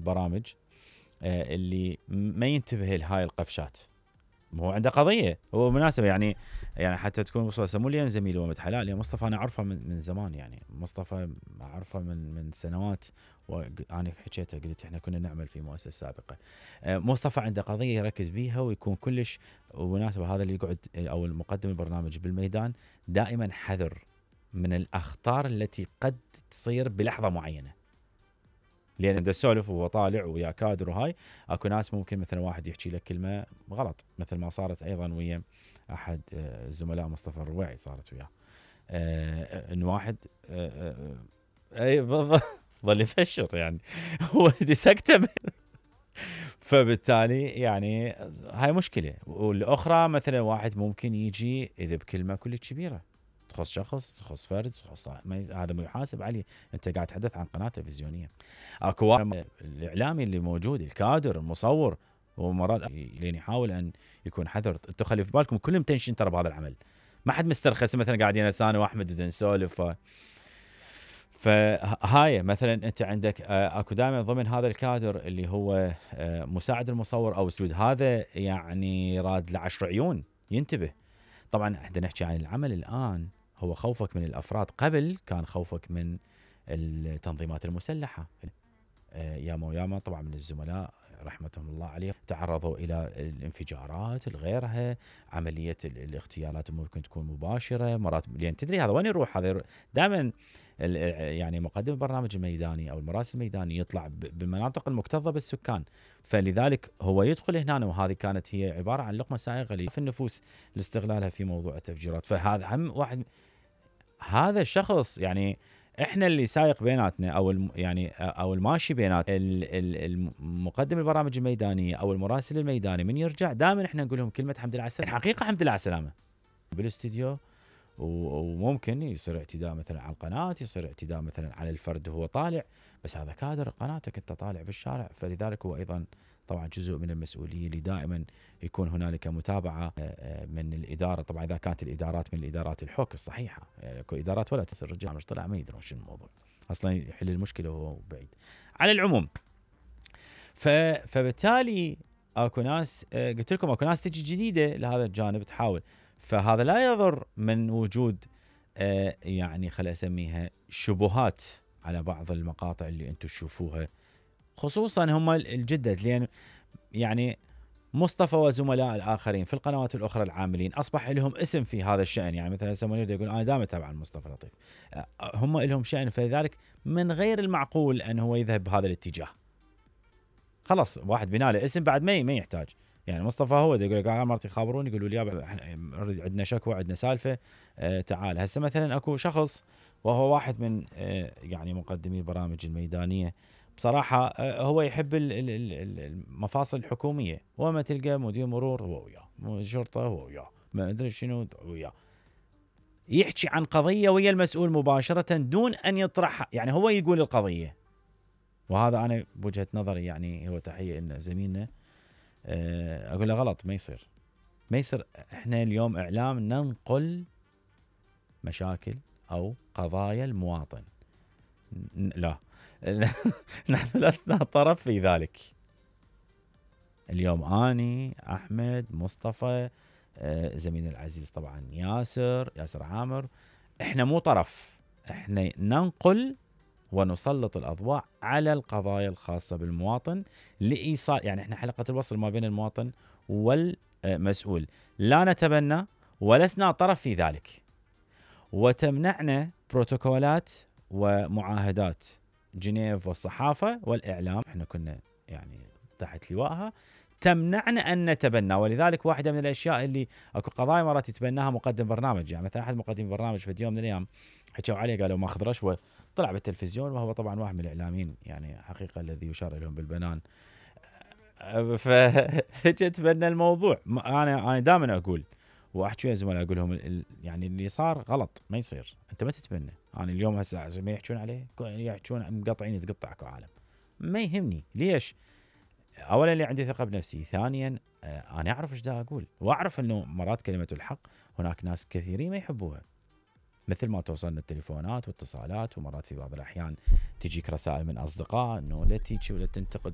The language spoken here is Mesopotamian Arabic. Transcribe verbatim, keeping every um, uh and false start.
البرامج آه اللي ما ينتبه لهاي القفشات. هو عنده قضيه، هو مناسبه يعني يعني حتى تكون وصله سمو لي زميلي ومد حلال. يعني مصطفى انا اعرفه من, من زمان، يعني مصطفى اعرفه من من سنوات، وانا حكيته قلت احنا كنا نعمل في مؤسسه سابقه. آه مصطفى عنده قضيه يركز بيها ويكون كلش ومناسبه. هذا اللي يقعد او المقدم البرنامج بالميدان دائما حذر من الاخطار التي قد تصير بلحظه معينه، لان بدي اسولف وهو طالع ويا كادر وهاي اكو ناس ممكن مثلا واحد يحكي لك كلمه غلط، مثل ما صارت ايضا ويا احد الزملاء مصطفى الرويعي، صارت وياه آه ان واحد آه آه اي بالضبط ظل يفشر يعني هو سكته فبالتالي يعني هاي مشكله. والاخرى مثلا واحد ممكن يجي اذا بكلمه كلش كبيره تخص شخص، تخص فرد، تخص هذا ما يحاسب عليه. انت قاعد تحدث عن قناه تلفزيونيه. اكو واحد الاعلامي اللي موجود، الكادر، المصور، ومرات لين يحاول ان يكون حذر. انتم خلي في بالكم كلهم تنشن ترى بهذا العمل، ما حد مسترخص مثلا قاعدين انا واحمد بدنا نسولف. فهاي مثلا انت عندك اكو دائما ضمن هذا الكادر اللي هو مساعد المصور او سود، هذا يعني راد لعشر عيون ينتبه. طبعا احنا نحكي عن العمل الان، هو خوفك من الافراد، قبل كان خوفك من التنظيمات المسلحه. ياما وياما طبعا من الزملاء رحمتهم الله عليهم تعرضوا الى الانفجارات الغيرها، عمليه الاغتيالات ممكن تكون مباشره مرات، لان تدري هذا وين يروح؟ هذا دائما يعني مقدم البرنامج الميداني او المراسل الميداني يطلع بالمناطق المكتظه بالسكان، فلذلك هو يدخل هنا، وهذه كانت هي عباره عن لقمه سائغه في النفوس لاستغلالها في موضوع التفجيرات. فهذا هم واحد، هذا الشخص يعني احنا اللي سايق بيناتنا او يعني او الماشي بينات المقدم البرامج الميدانيه او المراسل الميداني، من يرجع دائما احنا نقول لهم كلمه حمد لله على السلامه. الحقيقه حمد لله على السلامه بالاستديو، وممكن يصير اعتداء مثلا على القناه، يصير اعتداء مثلا على الفرد وهو طالع، بس هذا كادر قناتك انت طالع بالشارع. فلذلك هو ايضا طبعا جزء من المسؤوليه اللي دائما يكون هنالك متابعه من الاداره. طبعا اذا كانت الادارات من الادارات الحوك الصحيحه، اكو يعني ادارات ولا تصير الرجال مش طلع ما يدرون شنو الموضوع اصلا، يحل المشكله وهو بعيد. على العموم فبالتالي اكو ناس قلت لكم اكو ناس تجي جديده لهذا الجانب تحاول، فهذا لا يضر من وجود يعني خلينا اسميها شبهات على بعض المقاطع اللي انتم تشوفوها، خصوصا هم الجدد، لان يعني مصطفى وزملاء الاخرين في القنوات الاخرى العاملين اصبح لهم اسم في هذا الشان. يعني مثلا سمونير يقول انا دائما اتابع مصطفى لطيف، هم لهم شان، فلذلك من غير المعقول ان هو يذهب بهذا الاتجاه. خلاص واحد بناله اسم بعد ما ما يحتاج. يعني مصطفى هو يقول لك مرتي خابروني يقولوا لي عندنا شكوى عندنا سالفه آه تعال. هسه مثلا اكو شخص وهو واحد من آه يعني مقدمي البرامج الميدانيه بصراحه، آه هو يحب المفاصل الحكوميه، وما تلقى مدير مرور هو وياه، شرطه هو وياه، ما ادري شنو وياه، يحكي عن قضيه ويا المسؤول مباشره دون ان يطرحها. يعني هو يقول القضيه، وهذا انا بوجهه نظري يعني هو تحيه ان زميلنا اقول له غلط، ما يصير ما يصير. احنا اليوم اعلام ننقل مشاكل او قضايا المواطن، لا نحن لسنا طرف في ذلك. اليوم اني احمد مصطفى زميلنا العزيز طبعا ياسر ياسر عامر، احنا مو طرف، احنا ننقل ونسلط الأضواء على القضايا الخاصة بالمواطن لإيصال، يعني احنا حلقة الوصل ما بين المواطن والمسؤول، لا نتبنى ولسنا طرف في ذلك. وتمنعنا بروتوكولات ومعاهدات جنيف والصحافة والإعلام، احنا كنا يعني تحت لوائها، تمنعنا أن نتبنى. ولذلك واحدة من الأشياء اللي أكو قضايا مرات يتبناها مقدم برنامج، يعني مثلا أحد مقدمي برنامج في يوم من الأيام حكوا عليه قالوا ماخذ رشوة، طلع بالتلفزيون، وهو طبعا واحد من الإعلاميين يعني حقيقة الذي يشار لهم بالبنان. فهجت تبنى الموضوع. أنا أنا دائما أقول واحكي يا زملاء اقول لهم يعني اللي صار غلط ما يصير، انت ما تتبنى. انا اليوم هسه ما يحكون عليه يحكون مقطعين يتقطعك عالم، ما يهمني ليش. اولا اللي عندي ثقه بنفسي، ثانيا انا اعرف ايش دا اقول، واعرف انه مرات كلمه الحق هناك ناس كثيرين ما يحبوها، مثل ما توصلنا التليفونات واتصالات، ومرات في بعض الاحيان تجيك رسائل من اصدقاء انه لا تيجي ولا تنتقد